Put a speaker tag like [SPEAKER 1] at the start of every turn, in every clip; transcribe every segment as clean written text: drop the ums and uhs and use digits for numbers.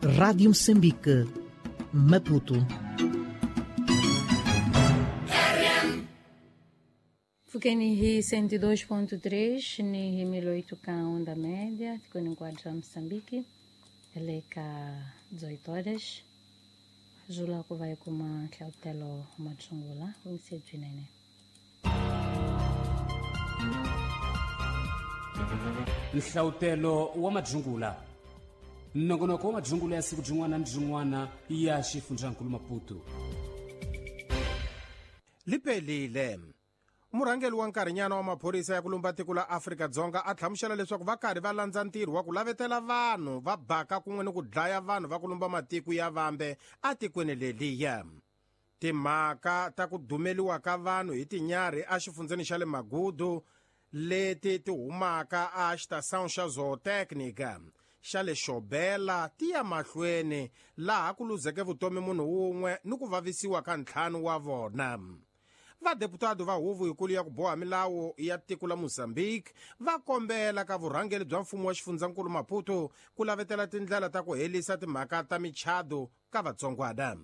[SPEAKER 1] Rádio Moçambique, Maputo.
[SPEAKER 2] Fukeni hi 102.3 ni hi 1008 ka onda média, tikoni nquadra Moçambique, eleka 18 horas. Zula ku vai kuma hlautelo matsungula, ungisebjinene.
[SPEAKER 3] Nhlautelo wa madzungula. Nongonoko wa madzungula ya siku byin'wana ni byin'wana ya xifundzankulu Maputo.
[SPEAKER 4] Liphelile. Murhangeri wa nkarhinyana wa maphorisa ya ku lumba tiko la Afrika-Dzonga a hlamusela leswaku va karhi va landza ntirho wa ku lavetela vanhu va baka kun'we ni ku dlaya vanhu va ku lumba matiko ya vambe atikweni leliya. Timhaka ta ku dumeliwa ka vanhu hi tinyarhi exifundzeni xa le Magudu leti ti humaka a xitação xa zootecnica xa le Xobela ti ya mahlweni laha ku luzeke vutomi munhu wun'we ni ku vavisiwa ka ntlhanu wa vona. Vadeputado va huvo yikulu ya ku boha milawu ya tiko la Mozambique va kombela ka vurhangeri bya mfumo wa xifundzankulu Maputo ku lavetela tindlela ta ku helisa timhaka ta michado ka vatsongwana.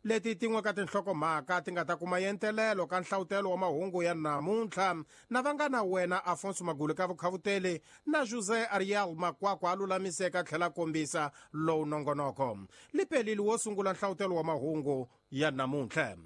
[SPEAKER 4] Leti tin'we ka tinhlokomhaka ti nga ta kuma yentelelo ka nhlawutelo wa mahungu ya namuntlha na va nga na wena Afonso Magulu ka vukhavuteli na José Ariel Makwakwa a lulamiseka tlhela kombisa lowu nongonoko. Liphelile wo sungula nhlawutelo wa mahungu ya namuntlha.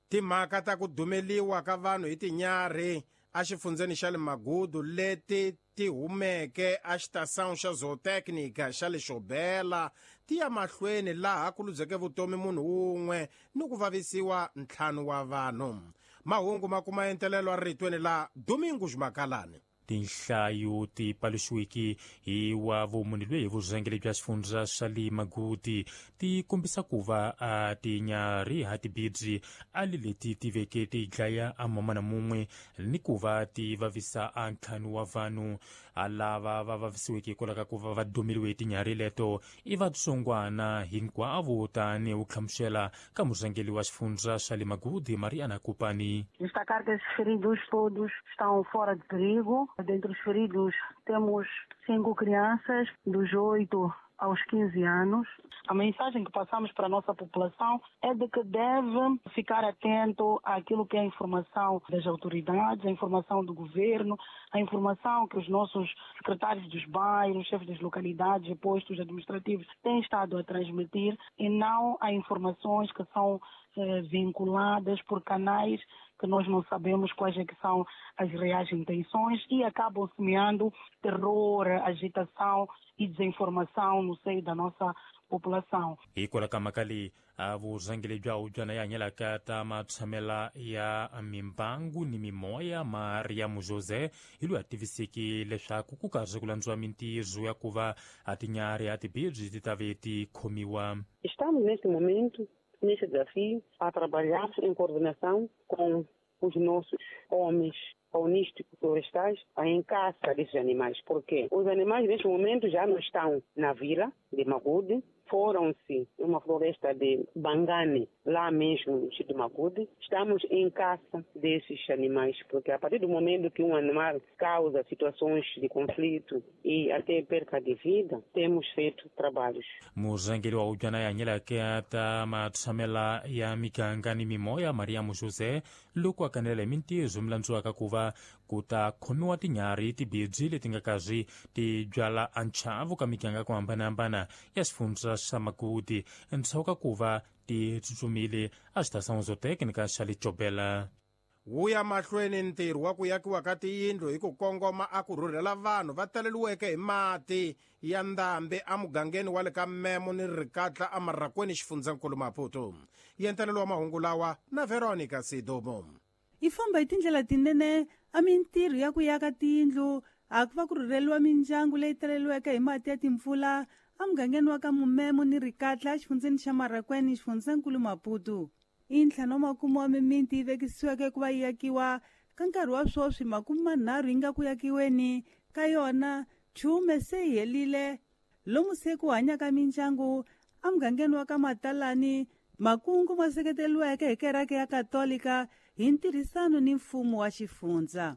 [SPEAKER 4] Timhaka ta ku dumeliwa ka vanhu hi tinyarhi exifundzeni xa le Magudu leti ti humeke exitação xa zootecnica xa le Xobela ti ya mahlweni laha ku luzeke vutomi munhu wun'we ni ku vavisiwa ntlhanu wa vanhu. Mahungu ma kuma entelelo eritweni la Domingos Makalani.
[SPEAKER 3] Tinhlayo ti paluxiweke hi wa vumunhu loyi hi vurhangeri bya xifundza xa le Maguti ti kombisa ku va a tinyarhi ha tibidzi a li leti ti veke ti dlaya a mamana mun'we ni ku va ti vavisa a ntlhanu wa vanhu. A lava va vavisiweke hikwalaho ka ku va va dumeliwe hi tinyarhi leto i vatsongwana hinkwavo, tanihi wu hlamusela ka murhangeri wa xifundza xa le Maguti Mariana Kupani.
[SPEAKER 5] Destacar que esses feridos todos estão fora de perigo. Dentre os feridos temos 5 crianças, dos 8 aos 15 anos. A mensagem que passamos para a nossa população é de que deve ficar atento àquilo que é a informação das autoridades, a informação do governo, a informação que os nossos secretários dos bairros, chefes das localidades e postos administrativos têm estado a transmitir, e não a informações que são vinculadas por canais que nós não sabemos quais é que são as reais intenções e acabam semeando terror, agitação e desinformação no seio da nossa população.
[SPEAKER 3] Hikwalaho ka mhaka leyi a vurhangeri bya hubyana ya hanyelaka ta matshamela ya mimbangu ni mimoya Mariam José hi loyi a tiviseke leswaku ku karhi ku landziwa mintirho ya ku va a tinyarhi a tibidzi ti ta ve ti khomiwa.
[SPEAKER 6] Estamos neste momento neste desafio a trabalhar em coordenação com os nossos homens faunísticos florestais em caça desses animais, porque os animais neste momento já não estão na vila de Magude, foram-se uma floresta de Bangane, lá mesmo no distrito de Magude. Estamos em caça desses animais, porque a partir do momento que um animal causa situações de conflito e até perca de vida, temos feito trabalhos.
[SPEAKER 3] Murhangeri wa hubyana ya hanyelaka ta matshamela ya miganga ni mimoya Mariam José loko a kanela hi mintirho mi landziwaka ku va ku ta khomiwa tinyarhi tibidzi leti nga karhi ti byala a nchavu ka miganga ku hambanahambana ya xifundza xa Maguti endzhaku ka ku va ti tsutsumile a xitação zootecnica xa le Xobela.
[SPEAKER 4] Wu ya mahlweni ntirho wa ku yakiwa ka tiyindlu hi ku kongoma a ku rhurhela vanhu va taleliweke hi mati ya ndhambi emugangeni wa le ka Memo ni Rikatla eMarakweni xifundzankulu Maputo. Yentelelo wa mahungu lawa na Veronica Sidomo.
[SPEAKER 7] Yi famba hi tindlela tinene a mintirho ya ku yaka tiyindlu a ku va ku rhurheliwa mindyangu leyi taleliweke hi mati ya timpfula emugangeni wa ka Mumemo ni Rikatla exifundzeni xa Marakweni xifundzankulu Maputo. I ntlhanu wa makume wa mimiti yi vekisiweke ku va yi yakiwa ka nkarhi wa sweswi 30 yi nga ku yakiweni ka yona chume se yi helile lomu se ku hanyaka mindyangu emugangeni wa ka Matalani. Makungu ma seketeriweke hi kereke ya Katolika hi ntirhisano ni mfumo wa xifundza.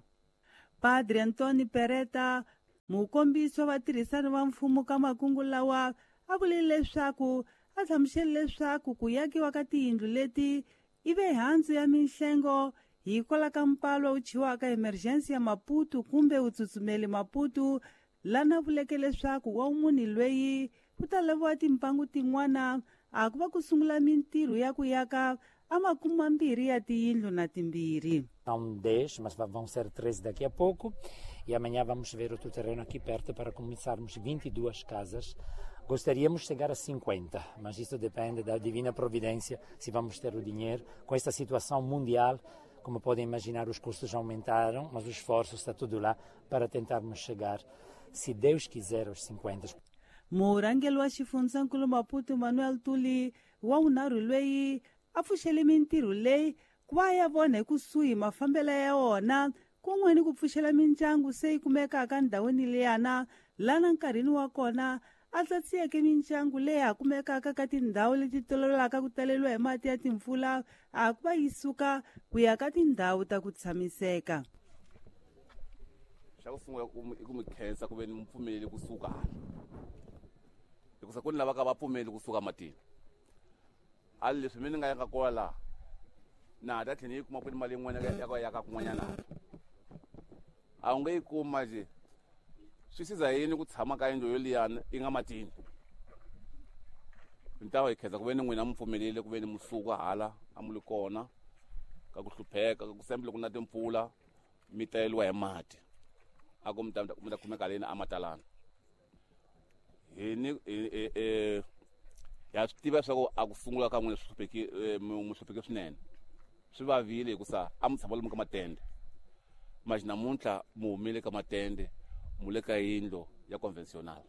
[SPEAKER 7] Padre Antoni Pereta Mukombisi wa vatirhisani va mfumo ka makungu lawa a vule leswaku a hlamusele leswaku ku yakiwa ka tiyindlu leti i ve handzu ya minhlengo hikwalaho ka mpalo wu chiwaka emergency ya Maputo kumbe wu tsutsumeli Maputo, lana vuleke leswaku wa munhu loyi ku ta laviwa timpangu tin'wana a ku va ku sungula mintirho ya ku yaka a 20 ya tiyindlu na timbirhi.
[SPEAKER 8] São 10, mas vão ser 13 daqui a pouco. E amanhã vamos ver outro terreno aqui perto para começarmos 22 casas. Gostaríamos de chegar a 50, mas isso depende da divina providência, se vamos ter o dinheiro. Com esta situação mundial, como podem imaginar, os custos aumentaram, mas o esforço está tudo lá para tentarmos chegar, se Deus quiser, aos 50.
[SPEAKER 7] Murhangeri wa xifundzankulu Maputo Manuel Tuli wa vunharhu loyi a pfuxele mintirho leyi ku va ya vona hi kusuhi mafambelo ya wona kun'we ni ku pfuxela mindyangu se yi kumekaka ndhawini leyana lana nkarhini wa kona a tlatsiyeke mindyangu leyi ha kumekaka ka tindhawu leti tolovelaka ku taleriwa hi mati ya timpfula a ku va yi suka ku ya ka tindhawu ta ku tshamiseka.
[SPEAKER 9] Xa ku sungula i ku mi khensa ku ve ni mi pfumeleli kusuka hala, hikusa ku ni lava ka va pfumeli kusuka matini. A leswi mi ni nga yaka kona laha na ha ta tlhela yi kuma ku ni mali yin'wana ya ku yaka kun'wanyana hala a wu nge yi kuma nje. Swi siza yini ku tshama ka yindlu yoliyani yi nga matini? Ni ta va hi khensa ku ve ni n'wina mi pfumelele ku ve ni mi suka hala a mu li kona ka ku hlupheka ka ku sembe loko na timpfula mi taleliwa hi mati a ku mi ta kumeka leni a matalana. Hi ni ya swi tiva leswaku a ku sungula ka n'wina swi hlupheke swinene, swi vavile hikusa a mi tshama lomu ka matende. Manje namuntlha mi humile ka matende mu le ka yindlu ya conventional.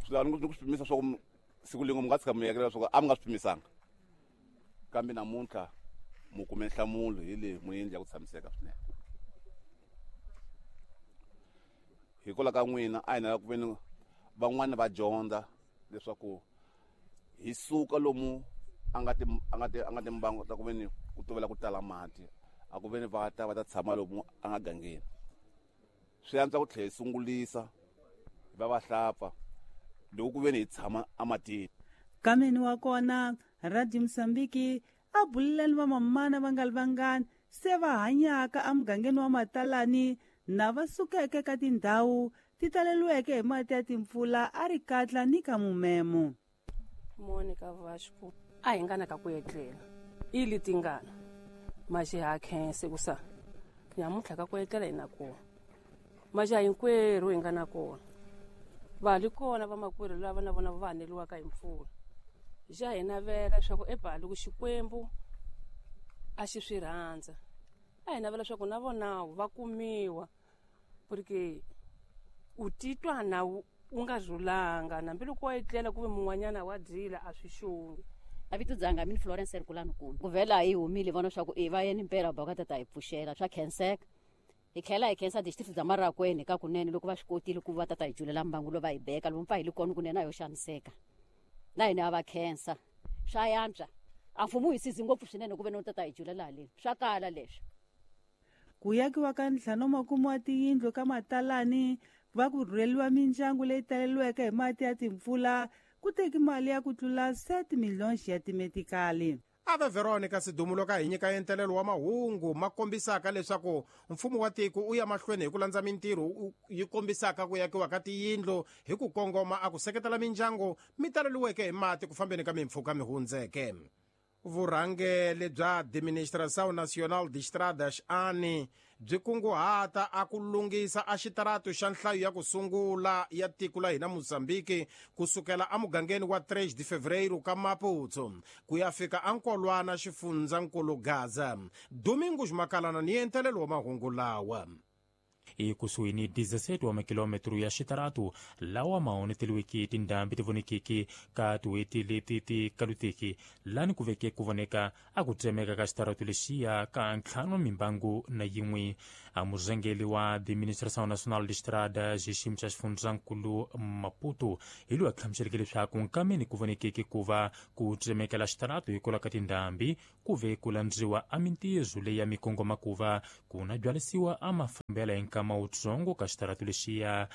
[SPEAKER 9] Swi lava ni ku swi pimisa swa ku siku lin'we mi nga tshika mi yekela leswaku a mi nga swi pimisanga, kambe namuntlha mu kume nhlamulo hi leyi mu yindlu ya ku tshamiseka swinene. Hikwalaho ka n'wina a hi na ku ve ni van'wani va dyondza leswaku hi suka lomu a nga timbangu ta ku ve ni ku tovela ku tala mati, a ku ve ni va ta tshama lomu a nga gangeni. Swi antswa ku tlhela hi sungulisa hi va vahlapfa loko ku ve ni hi tshama ematini.
[SPEAKER 7] Kameni wa kona Radio Mozambique a bulelani vamamana va nga li vangani se va hanyaka emugangeni wa Matalani na va sukeke ka tindhawu ti taleliweke hi mati ya timpfula a ri katla ni ka mumemo.
[SPEAKER 10] Monica Vasco a hi ngana ka ku etlela i li tingana maje ha khense ku sa nyamuntlha ka ku etlela hi na kona maje hinkwerhu hi nga na kona va li kona vamakwerhu lava na vona va haneliwaka hi mpfula ja hi navela leswaku ebali ku Xikwembu a xi swi rhandza a hi navela leswaku na vona va kumiwa porque u titwa na u nga rhulanga nambiloko wa etlela ku ve mun'wanyana wa dyila a swi xongi.
[SPEAKER 11] A vito dzanga mina Florence Herculano Kumbe ku vhela hi humile vona swa ku va yeni mpela ba ka tata hi pfuxela swa khenseka hi tlhela hi khensa district bya Marracuene ka kunene loko va swi kotile ku va tata hi julela mbangu lo va hi beka lomu pfa hi li kona kunene a yo xaniseka na hina a va khensa swa yantswa a mfumo hi sizi ngopfu swinene ku ve no tata hi julela haleni swa kala leswi.
[SPEAKER 7] Ku yakiwa ka 50 wa tiyindlu ka Matalani va ku rhurheliwa mindyangu leyi taleliweke hi mati ya timpfula ku teki mali ya ku tlula 7 miliyoni ya timetikali.
[SPEAKER 4] Ave Veronica Sidumo ka hi nyika entelelo wa mahungu ma kombisaka leswaku mfumo wa tiko u ya mahlweni hi ku landza mintirho yi kombisaka ku yakiwa ka tiyindlu hi ku kongoma a ku seketela mindyangu mi taleliweke hi mati ku fambeni ka mimpfhuka mi hundzeke. Vurhangeri bya Administração Nacional de Estradas ANI byi kunguhata a ku lunghisa a xitaratu xa nhlayo ya ku sungula ya tiko la hina Mozambique kusukela emugangeni wa 3 de Fevereiro ka Maputo ku ya fika eNkolwana xifundzankulu Gaza. Domingos Makalana ni entelelo wa mahungu lawa.
[SPEAKER 3] Ekusuhi ni 17 wa makilometro ya xitaratu lawa ma onheteliweke tindhambi ti vonekeke ka tin'hweti leti ti kaluteke, lani ku veke ku voneka a ku tsemeka ka xitaratu lexiya ka 51. Murhangeri wa Administração Nacional de Estradas xiyimo xa xifundzankulu Maputo hi loyi a hlamuseleke leswaku nkameni ku vonekeke ku va ku tsemekela xitaratu hikwalaho ka tindhambi ku ve ku landziwa a mintirho leyi ya mikongoma ku va ku na byalisiwa a mafambela hi nkama wutsongo ka xitaratu lexiya.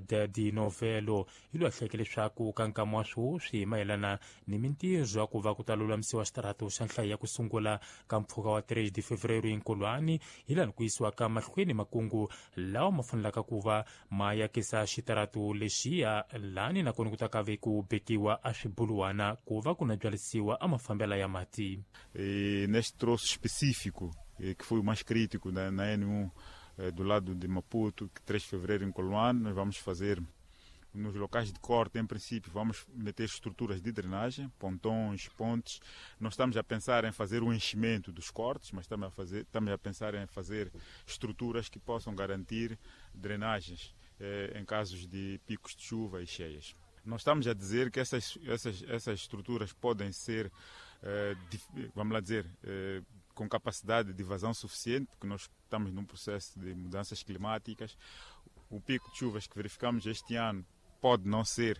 [SPEAKER 3] Dadi Novelo hi loyi a hleke leswaku ka nkama wa sweswi mayelana ni mintirho ya ku va ku ta lulamisiwa xitaratu xa nhlayo ya ku sungula ka mpfhuka wa 3 de fevereiro hinkulwani, hi laha ku yisiwa ka mahlweni makungu lawa ma fanelaka ku va ma yakisa xitaratu lexiya, lani nakona ku ta ka ve ku bekiwa a swibuluwana ku va ku na byalisiwa a mafambela ya mati.
[SPEAKER 12] E neste troço específico, que foi o mais crítico na N1 do lado de Maputo, que 3 de fevereiro em Coloane, nós vamos fazer nos locais de corte, em princípio, vamos meter estruturas de drenagem, pontões, pontes. Não estamos a pensar em fazer o enchimento dos cortes, mas estamos a pensar em fazer estruturas que possam garantir drenagens em casos de picos de chuva e cheias. Não estamos a dizer que essas estruturas podem ser, vamos lá dizer, com capacidade de vazão suficiente, porque nós estamos num processo de mudanças climáticas. O pico de chuvas que verificamos este ano pode não ser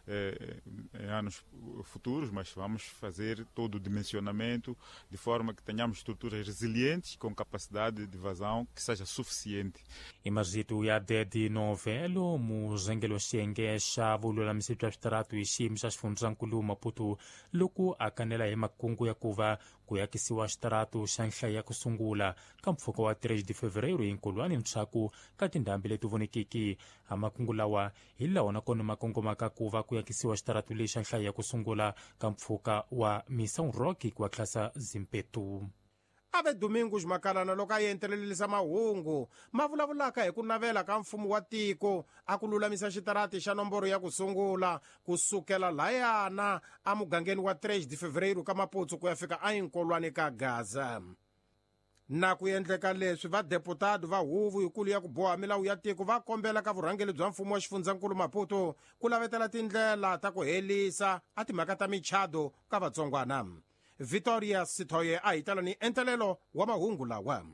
[SPEAKER 12] em anos futuros, mas vamos fazer todo o dimensionamento de forma que tenhamos estruturas resilientes com capacidade de vazão que seja suficiente.
[SPEAKER 3] Imazito ya Dedi Novelo, murhangeri wa xiyenge xa vululamisi bya switaratu hi xiyimo xa xifundzankulu Maputo, loko a kanela hi makungu ya ku va ku yakisiwa xitaratu xa nhlayo ya ku sungula ka mpfhuka wa 3 de fevereiro hinkulwani ntshaku ka tindhambi leti vonekeke. A makungu lawa hi lawa nakona ma kongomaka ku va ku yakisiwa xitaratu lexi xa nhlayo ya ku sungula ka mpfhuka wa Missão Roque ku tlhasa Zimpetu.
[SPEAKER 4] Ave Domingos Makalana loko a entelelisa mahungu ma vulavulaka hi ku navela ka mfumo wa tiko a ku lulamisa xitarati xa nomboro ya ku sungula ku sukela layana emugangeni wa 3 de fevereiro ka Maputo ku ya fika eNkolwane ka Gaza. Na ku endleka leswi, vadeputado va huvo yikulu ya ku boha milawu ya tiko va kombela ka vurhangeri bya mfumo wa xifundzankulu Maputo ku lavetela tindlela ta ku helisa a timhaka ta michado ka vatsongwana. Victoria Sithoye a hi tala ni entelelo wa mahungu lawa.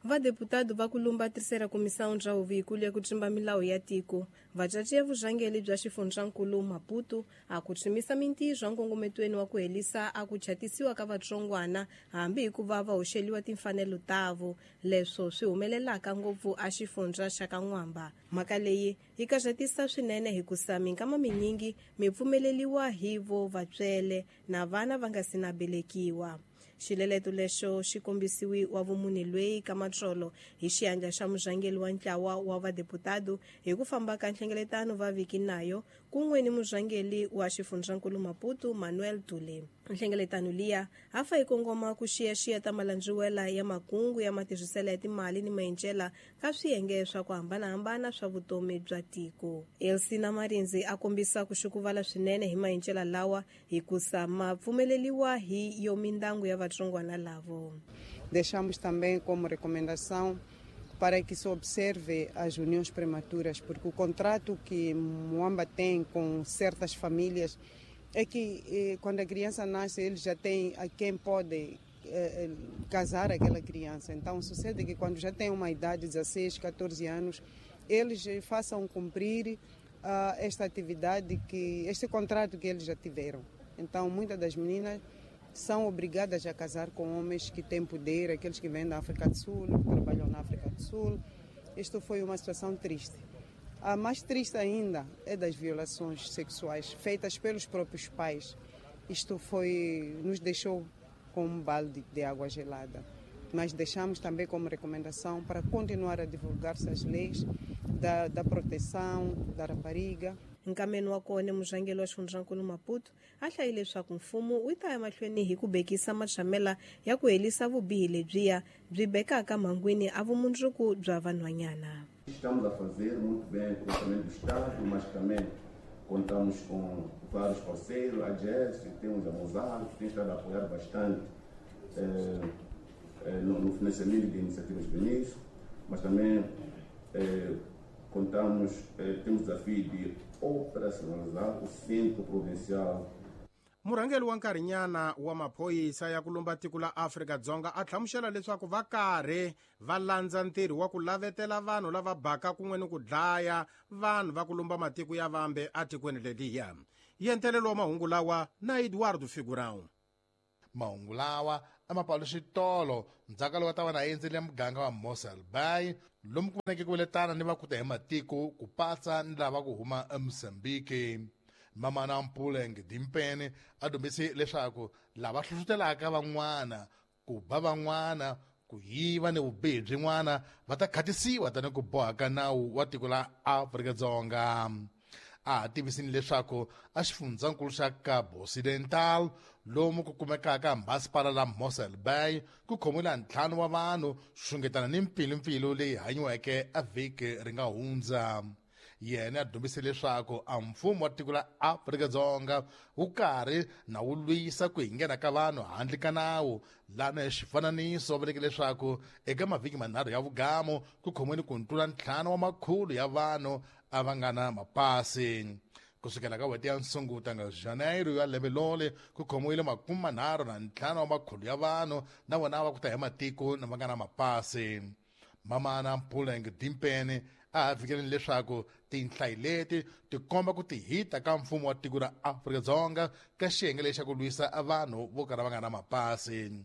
[SPEAKER 13] Vadeputado va kulumba terceira comissão bya huvo ya ku tsimba milawu ya tiko va caciya vurhangeri bya xifundzankulu Maputo a ku tshimisa mintirho nkongometweni wa ku helisa a ku chatisiwa ka vatsongwana hambi hikuva va hoxeliwa timfanelo tavo, leswo swi humelelaka ngopfu a xifundza xa ka N'wamba. Mhaka leyi yi kaxatisa swinene hikusa minkama minyingi mi pfumeleliwa hi vo vatswele na vana va nga si na belekiwa. Xileleto lexo xi kombisiwi wa vumunhu lweyi ka matsolo hi xiyandla xa murhangeri wa ntlawa wa vadeputado hi ku famba ka nhlengeletano va viki nayo kun'we ni murhangeri wa xifundzankulu Maputo Manuel Tule. Nhlengeletano liya a fa yi kongoma ku xiyaxiya ta malandziwela ya makungu ya matirhiselo ya timali ni maendlela ka swiyenge swa ku hambanahambana swa vutomi bya tiko. Elsina Marinzi a kombisa ku xukuvala swinene hi maendlela lawa hikusa ma pfumeleliwa hi yo mindangu ya vatsongwana lavo.
[SPEAKER 14] Deixamos também como recomendação para que se observe as uniões prematuras, porque o contrato que Moamba tem com certas famílias é que quando a criança nasce, eles já têm a quem pode casar aquela criança. Então sucede que quando já tem uma idade, 16, 14 anos, eles façam cumprir esta atividade, este contrato que eles já tiveram. Então muitas das meninas são obrigadas a casar com homens que têm poder, aqueles que vêm da África do Sul, que trabalham na África do Sul. Isto foi uma situação triste. A mais triste ainda é das violações sexuais feitas pelos próprios pais. Isto nos deixou com um balde de água gelada. Mas deixamos também como recomendação para continuar a divulgar-se as leis da proteção da rapariga.
[SPEAKER 13] Nkameni wa kona murhangeri wa xifundzankulu Maputo a hlayile leswaku mfumo wu ta ya mahlweni hi ku bekisa matshamela ya ku helisa vubihi lebyiya byi bekaka mhangwini a vumundzuku bya vanhwanyana.
[SPEAKER 15] Estamos a fazer muito bem com o orçamento do Estado, mas também contamos com vários parceiros, a GES, temos a Mozart, que tem estado a apoiar bastante no financiamento de iniciativas juvenis, mas também Contamos, temos o desafio de operacionalizar o Centro Provincial.
[SPEAKER 4] Murhangeri wa nkarhinyana wa maphorisa ya ku lumba tiko la Afrika-Dzonga a hlamusela leswaku va karhi va landza ntirho wa ku lavetela vanhu lava baka kun'we ni ku dlaya vanhu va ku lumba matiko ya vambe atikweni leliya. Yentelelo wa mahungu lawa na Eduardo Figurão.
[SPEAKER 16] Mahungu lawa a ma palu xitolo ndzhaka lowu ta va na endzele muganga wa Mossel Bay lomu ku voneke ku veletana ni vakuta hi matiko ku patsa ni lava ku huma eMozambique. Mamana Mpuleng Dimpene a dumbise leswaku lava hlohlotelaka van'wana ku ba van'wana ku yiva ni vubihi byin'wana va ta khatisiwa tani ku boha ka nawu wa tiko la Afrika-Dzonga. A tivisini leswaku a xifundzankulu xa Cabo Occidental lomu ku kumekaka masipala la Mossel Bay ku khomiwile ntlhanu wa vanhu xungetana ni mpfilumpfilu leyi hanyiweke a vhiki ri nga hundza. Yena a dumbise leswaku a mfumo wa tiko la Afrika-Dzonga wu karhi na wu lwisa ku hinghena ka vanhu handle ka nawu lana hi xifananiso va vuleke leswaku eka mavhiki manharhu ya vugamu ku khomiwile ku tlula 5 wa makhulu ya vanhu a va nga na mapasi. Kusukela ka n'hweti ya Nsunguta nga Janeiro ya lembe lole ku khomiwile 35 wa makhulu ya vanhu na vona va ku ta hi matiko na va nga na mapasi. Mamana Mpuleng Dimpene a fikeleni leswaku tinhlayo leti ti komba ku tihita ka mfumo wa tiko ra Afrika-Dzonga ka xiyenge lexi xa ku lwisa vanhu vo kala va nga na mapasi.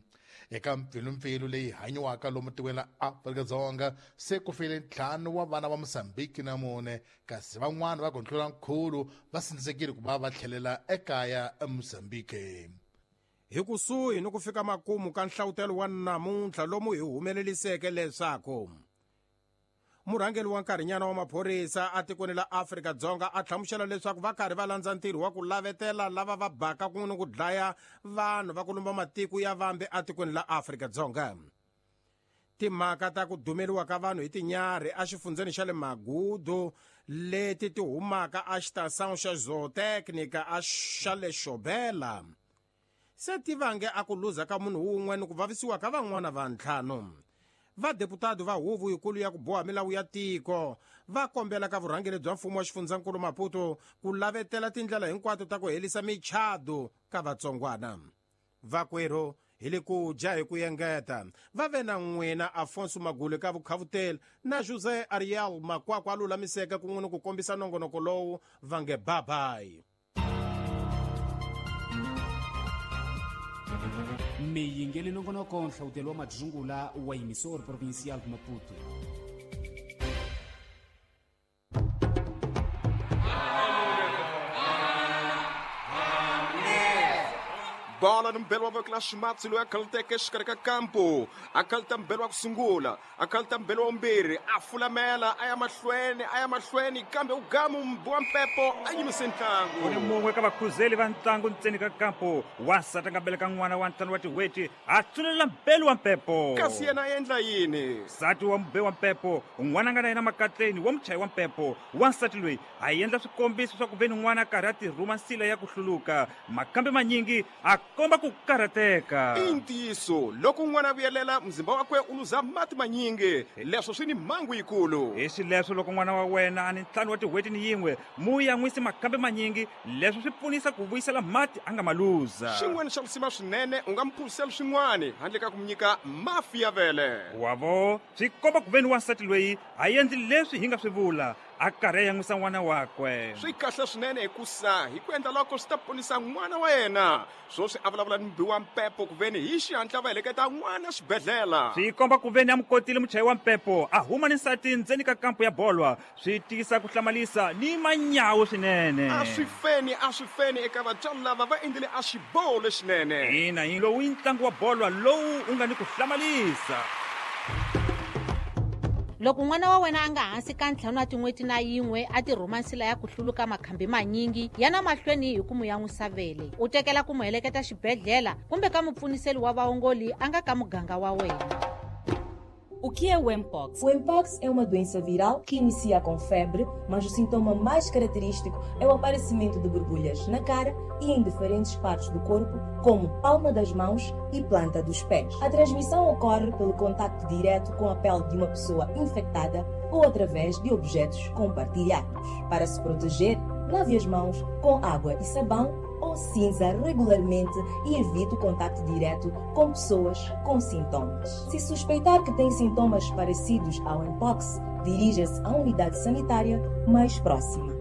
[SPEAKER 16] Eka mpfilumpfilu leyi hanyiwaka lomu tikweni la Afrika-Dzonga se ku file 5 wa vana va Mozambique na 4 kasi van'wana va ku tlula nkhulu va sindzekile ku va va tlhelela ekaya eMozambique.
[SPEAKER 4] Hi kusuhi ni ku fika makumu ka nhlawutelo wa namuntlha lomu hi humeleliseke leswaku murhangeri wa nkarhinyana wa maphorisa atikweni la Afrika-Dzonga a hlamusela leswaku va karhi va landza ntirho wa ku lavetela lava va baka kun'we ni ku dlaya vanhu va ku lumba matiko ya vambe atikweni la Afrika-Dzonga. Timhaka ta ku dumeriwa ka vanhu hi tinyarhi exifundzeni xa le Magudu leti ti humaka a xitação xa zootecnica a xa le Xobela se ti vange a ku luza ka munhu wun'we ni ku vavisiwa ka van'wana va ntlhanu. Vadeputado va huvo yikulu ya ku boha milawu ya tiko va kombela ka vurhangeri bya mfumo wa xifundzankulu Maputo ku lavetela tindlela hinkwato ta ku herisa michado ka vatsongwana. Vakwerhu hi le ku dya hi ku engeta va ve na n'wina Afonso Magule ka vukhavuteli na José Ariel Makwakwa a lulamiseka kun'we ni ku kombisa nongonoko lowu va nge babayi.
[SPEAKER 17] Miyingeli nongonoko nhlawutelo wa madzungula wa emissor provincial de Maputo.
[SPEAKER 18] Bola ni mbelo wa voko la ximatsi loyi a khaluteke exikarhi ka kampo a khaluta mbelo wa ku sungula a khaluta mbelo wa vumbirhi a fulamela a ya mahlweni kambe u gamu mbi wa mpepo a yimise ntlangu.
[SPEAKER 19] Ku ni mun'we ka vakhuzeli va ntlangu ntseni ka kampo wansati a nga beleka n'wana wa 5 wa tin'hweti a tsulela mbelo wa mpepo
[SPEAKER 18] kasi yena a endla yini
[SPEAKER 19] nsati wa mube wa mpepo n'wana a nga na yena makatleni wa muchayi wa mpepo wansati loyi a endla swikombiso swa ku ve ni n'wana a karhi a tirhuma nsila ya ku hluluka makambe manyingi a komba ku karhateka.
[SPEAKER 18] I ntiyiso loko n'wana a vuyelela muzimba wakwe u luza mati manyingi leswo swi ni mhangu yikulu.
[SPEAKER 19] Hi xileswo loko n'wana wa wena a ni 5 wa tin'hweti ni yin'we mu yan'wisi makambe manyingi leswo swi pfunisa ku vuyisela mati a nga ma luza.
[SPEAKER 18] Xin'wana xa risima swinene u nga mu phuzisela swin'wana handle ka ku mu nyika mafi ya vele.
[SPEAKER 19] Wavo swi komba ku ve ni wansati loyi a endli leswi hi nga swi vula a karhi a yan'wisa n'wana wakwe.
[SPEAKER 18] Swi kahle swinene hikusa hi ku endla loko swi ta ponisa n'wana wa yena. Swoswi a vulavula ni mbi wa mpepo ku veni hi xihatla va heleketa n'wana xibedhlele.
[SPEAKER 19] Swi komba ku veni a mu kotile muchayi wa mpepo a huma ni nsati ndzeni ka kampo ya bolwa swi tiyisa ku hlamalisa ni manyawu swinene.
[SPEAKER 18] A swi feni eka vatswari lava va endlile a xiboho lexinene.
[SPEAKER 19] Ina hi lowu i ntlangu wa bolwa lowu u nga ni ku hlamalisa.
[SPEAKER 20] Loko n'wana wa wena a nga hansi ka 5 wa tin'hweti na yin'we a tirhuma nsila ya ku hluluka makhambi manyingi ya na mahlweni hi ku mu yan'wisa vele u tekela ku mu heleketa xibedhlele kumbe ka mupfuniseli wa vaongoli a nga ka muganga wa wena.
[SPEAKER 21] O que é o Mpox?
[SPEAKER 22] O Mpox é uma doença viral que inicia com febre, mas o sintoma mais característico é o aparecimento de borbulhas na cara e em diferentes partes do corpo, como palma das mãos e planta dos pés. A transmissão ocorre pelo contacto direto com a pele de uma pessoa infectada ou através de objetos compartilhados. Para se proteger, lave as mãos com água e sabão ou cinza regularmente e evite o contato direto com pessoas com sintomas. Se suspeitar que tem sintomas parecidos ao mpox, dirija-se à unidade sanitária mais próxima.